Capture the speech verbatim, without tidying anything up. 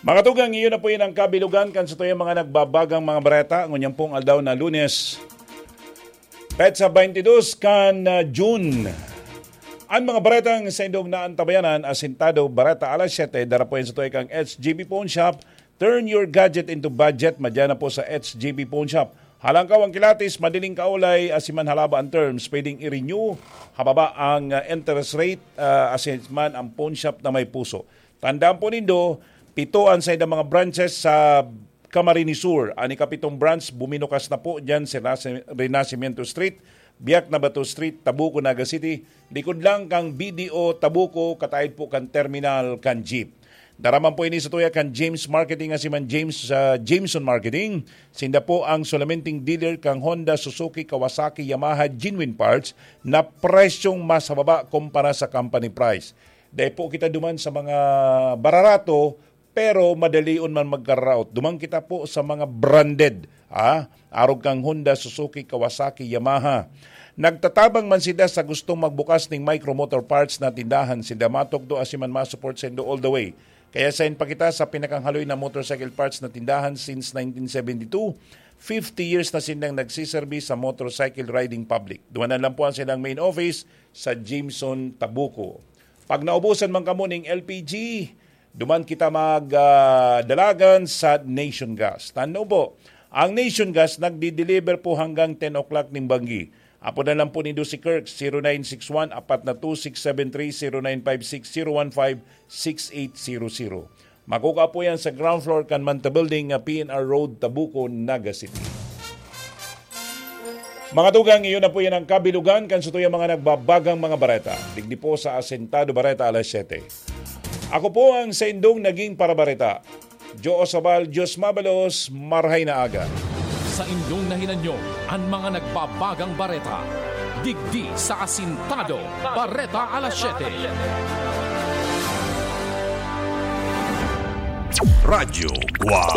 Mga tugang, iyo na po yan ang kabilugan kan satuyang mga nagbabagang mga bareta ngunyan pong aldaw na Lunes, petsa twenty-two kan, ah, June. An mga baretang saindong naantabayanan, asintado, bareta alas siyete, dara po yan sa tuya kang H G B Pawn Shop. Turn your gadget into budget, madya na po sa H G B Pawn Shop. Halangkaw ang kilatis, madaling kaulay, asiman halaba ang terms, pwedeng i-renew, hababa ang, ah, interest rate, ah, asiman ang pawn shop na may puso. Tandaan po nindo, pito an saindang mga branches sa Camarines Sur. An ikapitong branch, buminukas na po diyan sa Renacimiento Street, Biak na Bato Street, Tabuco, Naga City. Likod lang kang B D O Tabuco, kataid po kan terminal kan jeep. Daraman po ini sa tuya kan James Marketing, asiman James, sa Jameson Marketing. Sinda po ang solamenting dealer kang Honda, Suzuki, Kawasaki, Yamaha, genuine parts na presyong mas mababa kumpara sa company price. Dai po kita duman sa mga bararato, pero madalion man magkaraot. Duman kita po sa mga branded, ah, arog kang Honda, Suzuki, Kawasaki, Yamaha. Nagtatabang man sila sa gustong magbukas ning micro motor parts na tindahan. Sinda matukdo asiman ma-support saindo all the way. Kaya sain pa kita sa pinakahaloy na motorcycle parts na tindahan since nineteen seventy-two. Fifty years na silang nagsiserbi sa motorcycle riding public. Dumanan lang po ang silang main office sa Jameson, Tabuco. Pag naubusan man kamo ning L P G, duman kita mag, ah, dalagan sa Nation Gas. Tandaan po, ang Nation Gas nagdi-deliver po hanggang ten o'clock ning banggi. Apodan lang po nindo si Kirk, zero nine six one, apat na two six seven three, zero nine five six, zero one five, six eight zero zero. Makukua po yan sa ground floor kan Manta Building, ah, P N R Road, Tabuco, Naga City. Mga tugang, iyo na po yan ang kabilugan kan satuyang mga nagbabagang mga bareta. Digdi po sa Asentado Bareta alas siyete. Ako po ang saindong naging parabareta, Joe Osabal, Diyos mabalos, marhay na aga. Sa inyong nahinanyo, an mga nagbabagang bareta. Digdi sa Asintado, Bareta alas siyete. Radyo Guwang.